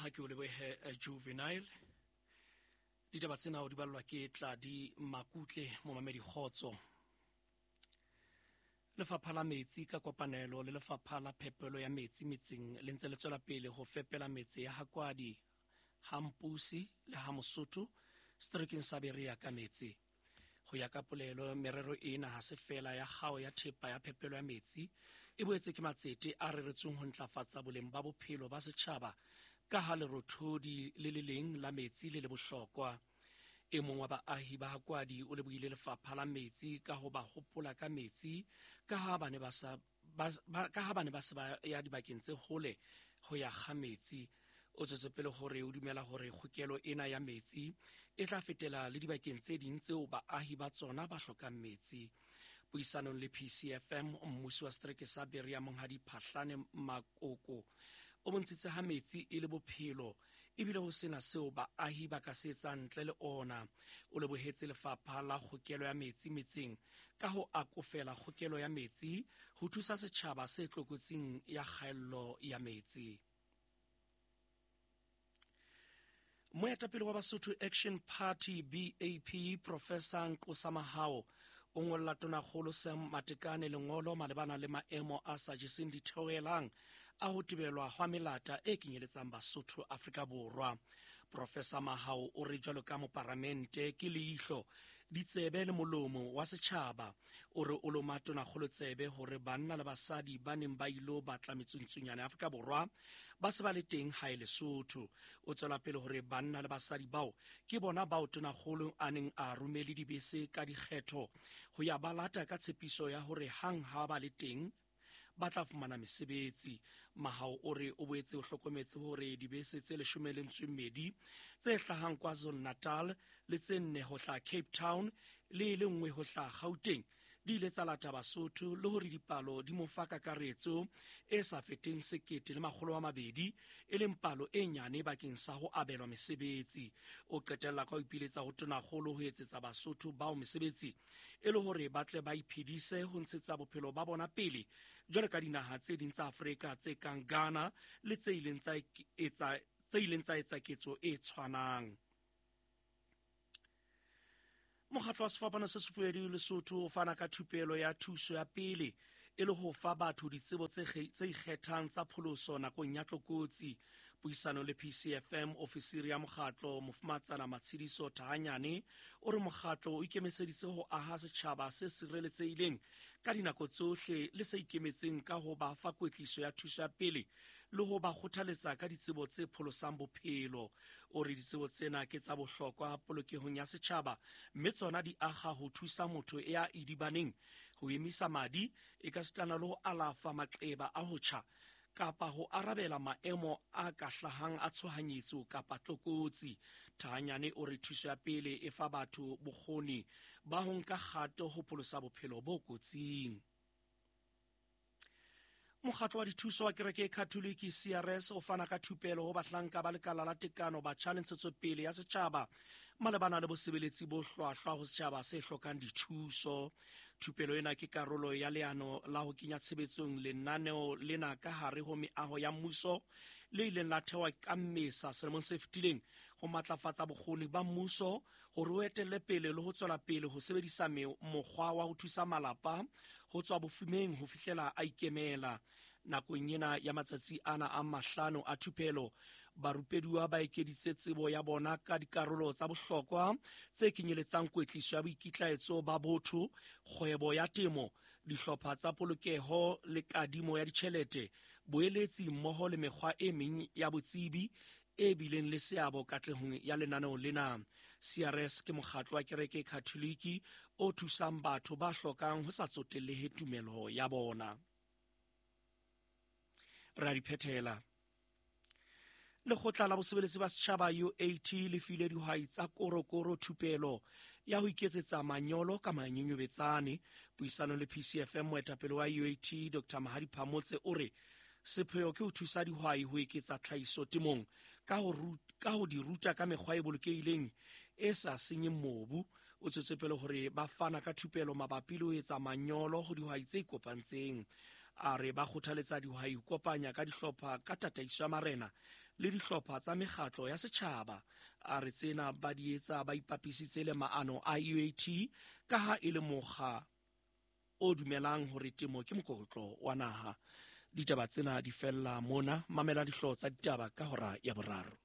Ha ke o lebohe Juvenile. Ditaba tsena o di ballwa ke Tladi Makutle, momamedi kgotso. Lefapha la Metsi ka kopanelo le Lefapha la Phepelo ya Metsi metseng le ntse le tswela pele ho fepela metse ya Hakwadi, ha Mpusi le ha Mosotho seterekeng sa Berea ka metsi. Ho ya ka polelo, merero ena ha se feela ya kgao ya thepa ya phepelo ya metsi, e boetse ke matsete a reretsweng ho ntlafatsa boleng ba bophelo ba setjhaba ka ha lerothodi le le leng la metsi le le bohlokwa. E mong wa baahi ba Hakwadi o lebohile Lefapha la Metsi ka ho ba hopola ka metsi ka ha ba ne ba sa ka ha ba ne ba se ba ya dibakeng tse hole ho ya kga metsi. O tswetse pele hore o dumela hore kgokelo ena ya metsi e tla fetela le dibakeng tse ding tseo baahi ba tsona ba hlokang metsi. Puisanong le PCFM, mmusi wa setereke sa Berea Monghadi Phahlane Makoko o bontshitse ha metsi e le bophelo ebile ho sena seo baahi ba ka se etsang ntle le ona. O lebohetse lefapha la kgokelo ya metsi metseng ka ho akofela kgokelo ya metsi ho thusa setjhaba se tlokotsing ya kgaello ya metsi. Moetapele wa Basotho Action Party BAP Professor Nqosa Mahao o ngolla tonakgolo Sam Matekane lengolo malebana le maemo a sa jeseng ditheohelang a ho tebelwa hwa melata e kenyeletsang Basotho Afrika Borwa. Professor Mahao o re jwalo ka moparamente ke leihlo, ditsebe le molomo wa setjhaba. O re o loma tonakgolo tsebe hore banna le basadi ba neng ba ilo batla metsuntsunyane Afrika Borwa ba se ba le teng hae Lesotho. O tswela pele hore banna le basadi bao ke bona bao tonakgolo a neng a romele dibese ka dikgetho ho ya ba lata ka tshepiso ya hore hang ha ba le teng ba tla fumana mesebetsi. Mahao o re o boetse o hlokometse hore dibese tse 12 tse hlahang KwaZulu-Natal le tse 4 ho hlaha Cape Town le e le nngwe ho hlaha Gauteng di ile tsa lata Basotho le hore dipalo di mo fa kakaretso e sa feteng 1200, e leng palo e nyane bakeng sa ho abelwa mesebetsi. O qetella ka ho ipiletsa ho tonakgolo ho etsetsa Basotho bao mesebetsi e le hore ba tle ba iphedise ho ntshetsa bophelo ba bona pele jwalo ka dinaha tse ding tsa Afrika tse kang Ghana le tse ileng tsa etsa ketso e tshwanang. Mokgatlo wa Sefapano se Sefubedu Lesotho o fana ka thupelo ya thuso ya pele e le ho fa batho ditsebo tse ikgethang tsa pholoso nakong ya tlokotsi. Puisano le PCFM, ofisiri ya mokgatlo Mofumatsana Matshidiso Thahanyane o re mokgatlo o ikemiseditse ho aha setjhaba se sireletsehileng ka dinako tsohle le se ikemetseng ka ho ba fa kwetliso ya thuso ya pele le ho ba kgothaletsa ka ditsebo tse pholosang bophelo. O re ditsebo tsena ke tsa bohlokwa polokehong ya setjhaba mme tsona di aga ho thusa motho ya idibaneng ho emisa madi e ka sitana le ho alafa maqeba a ho tjha kapa ho arabela maemo a ka hlahang a tshohanyetso kapa tlokotsi. Thahanyane o re thuso ya pele e fa batho bokgoni ba ho nka kgato ho pholosa bophelo bo kotsing. Mokgatlo wa dithuso wa kereke e Katholiki CRS o fana ka thupelo ho bahlanka ba lekala la tekano batjha le ntshetsopele ya setjhaba malebana le bosebeletsi bo hlwahlwa ho setjhaba se hlokang dithuso. Thupelo ena ke karolo ya leano la ho kenya tshebetsong lenaneo lena ka hare ho meaho ya mmuso le ileng la thewa ka Mmesa selemong se fetileng ho matlafatsa bokgoni ba mmuso hore o etelle pele le ho tswela pele ho sebedisa mokgwa wa ho thusa malapa ho tswa bofumeng ho fihlela a ikemela. Nakong ena ya matsatsi ana a 5 a thupelo, barupeduwa ba ekeditse tsebo ya bona ka dikarolo tsa bohlokwa tse kenyeletsang kwetliso ya boikitlaetso ba botho, kgwebo ya temo, dihlopha tsa polokeho le kadimo ya ditjhelete, boeletsi mmoho le mekgwa e meng ya botsebi e bileng le seabo katlehong ya lenaneo lena. CRS ke mokgatlo wa kereke Katholiki o thusang batho ba hlokang ho sa tsotellehe tumelo ya bona. Re a di phethela. Lekgotla la bosebeletsi ba setjhaba UAT le file dihwai tsa korokoro thupelo ya ho iketsetsa manyolo ka manyenyobetsane. Puisano le PCFM, moetapele wa UAT Dr. Mahadi Phamotse o re sepheo ke ho thusa dihwai ho eketsa tlhahiso temong ka ho di ruta ka mekgwa e bolokehileng e sa senyeng mobu. O tswetse pele hore ba fana ka thupelo mabapi le ho etsa manyolo ho dihwai tse ikopantseng. A re ba kgothaletsa dihwai ho kopanya ka dihlopha ka tataiso ya marena le dihlopha tsa mekgatlo ya setjhaba. A re tsena ba di etsa ba ipapisitse le maano a UAT ka ha e le mokga o dumelang hore temo ke mokokotlo wa naha. Ditaba tsena di fella mona. Mamela dihlooho tsa ditaba ka hora ya boraro.